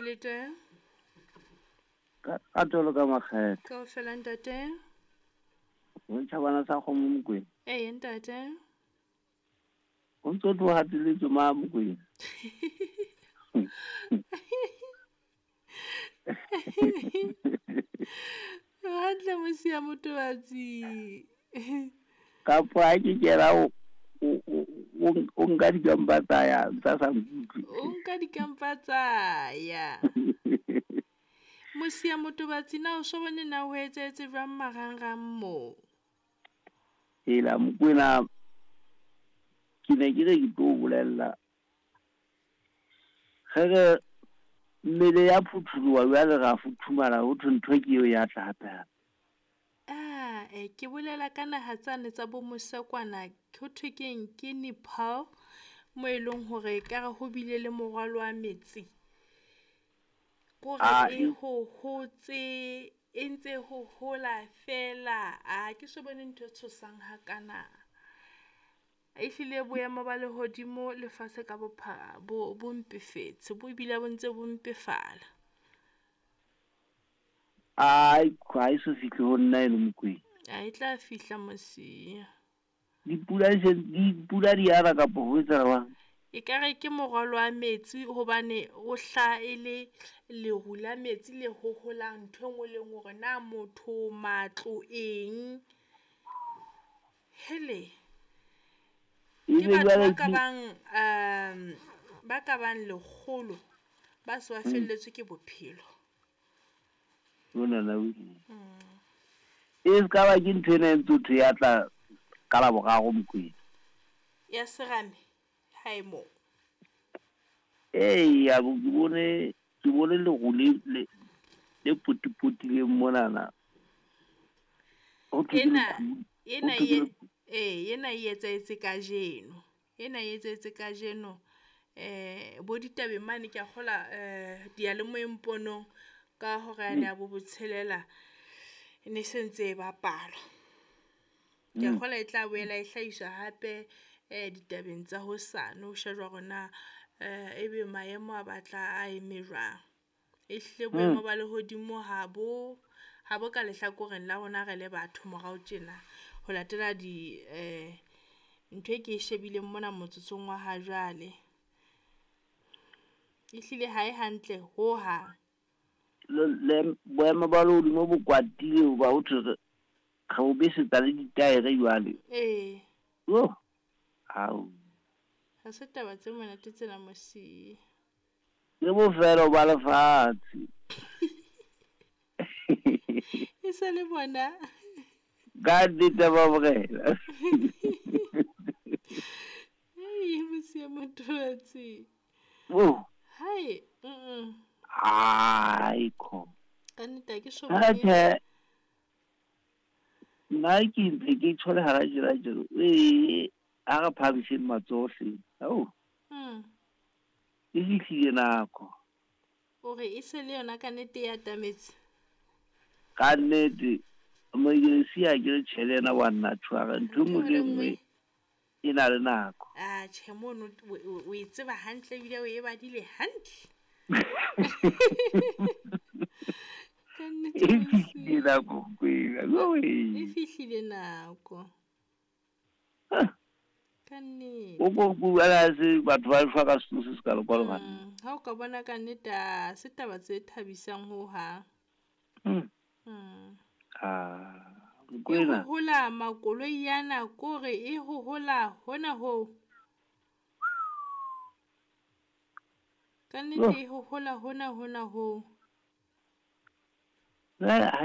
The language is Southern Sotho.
Le teng? Ka tolo ka makgethe. Kaofela ntate. Ho tjhabana sa kgomo Mokwena. Ee ntate. O ntso tlo hateletswe ma Mokwena. Hantle mosia motobatsi. Kapo ha ke kena o nka dikampa tsa ya tsa sa nkutlwe. O nka dikampa tsa ya. Mosia motobatsi na o so bone na ho etsahetse jwang marangrang moo? Hela Mokwena, ke ne ke re ke tlo o bolella. Ge re mmele ya phuthuloha jwale ra futhumala ho thwe ntho ke eo ya tla hape hape. Ah, ke bolela ka naha tsane tsa bo mosekwana ho thwe keng ke Nepal mo e leng hore ekare ho bile le morwalo wa metsi. Kore e hohotse, e ntse hohola fela. A ke so bone ntho e tshosang hakana. Ehlile boemo ba lehodimo lefatshe ka bophara bo bo mpefetse, bo ebile bo ntse bo mpefala. Ai, ha e so fihle ho nna eno Mokwena. A e tla fihla mosia. Dipula di se dipula di ana kapa ho etsahala jwang? Ekare ke morwalo wa metsi hobane o hlaha e le leru la metsi le hoholang ntho e nngwe le nngwe hore na motho, matlo, eng. Hele! Ke Ebe batho jwale ba ka bang ba ka bang 100 ba se ba felletswe ke bophelo. Monana o E se ka ba ke ntho ena e ntse thwe ya tla ka Laboraro Mokwena. Ya serame hae moo. Eya bo ke bone leru le le potipotileng monana. Ho thwe ke Ena leqhubu, ho ena thwe ke e leqhubu. ee ena e etsahetse kajeno. Ena e etsahetse kajeno. Bo ditabeng mane ke a kgola diyalemoyeng ponong ka hora yane ya bo botshelela e ne se ntse e bapalwa. Ke a kgolwa e tla boela e hlahiswa hape ditabeng tsa hosane ho shejwa hore na ebe maemo a batla a eme jwang. Ehlile boemo ba lehodimo ha bo ha bo ka lehlakoreng la rona re le batho morao tjena. Ho latela di ntho e ke e shebileng mona motsotsong wa ha jwale. Ehlile ha e hantle hohang. Le boemo ba lehodimo bo kwatile hoba ho thwe re o besetsa le ditaere jwale. Ee. Yoh! Ao. Ha se taba tse monate tsena mosia. Ke bofelo ba lefatshe. E se le bona. Ka nnete ba morena. Hei, mosia motobatsi. Oh. Hai, Ai kho. Ka nnete ha ke so Ha bone. tjhe. Nna ke ntse ke tshole hara tjena tjena. Ee, ha re phahamiseng matsoho hleng. Ao. E fihlile nako. O re e se le yona ka nnete e atametse. Ka nnete moekelesia ke re tjhe le yena wa nna tshwara ntho e nngwe le e nngwe e na le nako. Ah, tjhe mono o e tseba hantle ebile o e badile hantle. Ka nnete E mosia. fihlile nako Mokwena. E fihlile nako. Ka nnete. O ko bua ha se batho ba shwa ka setso se se kalo kwalo banna. Ha o ka bona ka nnete ha se taba tse thabisang hohang. Ah, E Mokwena. hohola makoloi ana kore e hohola hona ho. Ka nnete e hohola hona hona ho. Jwale ha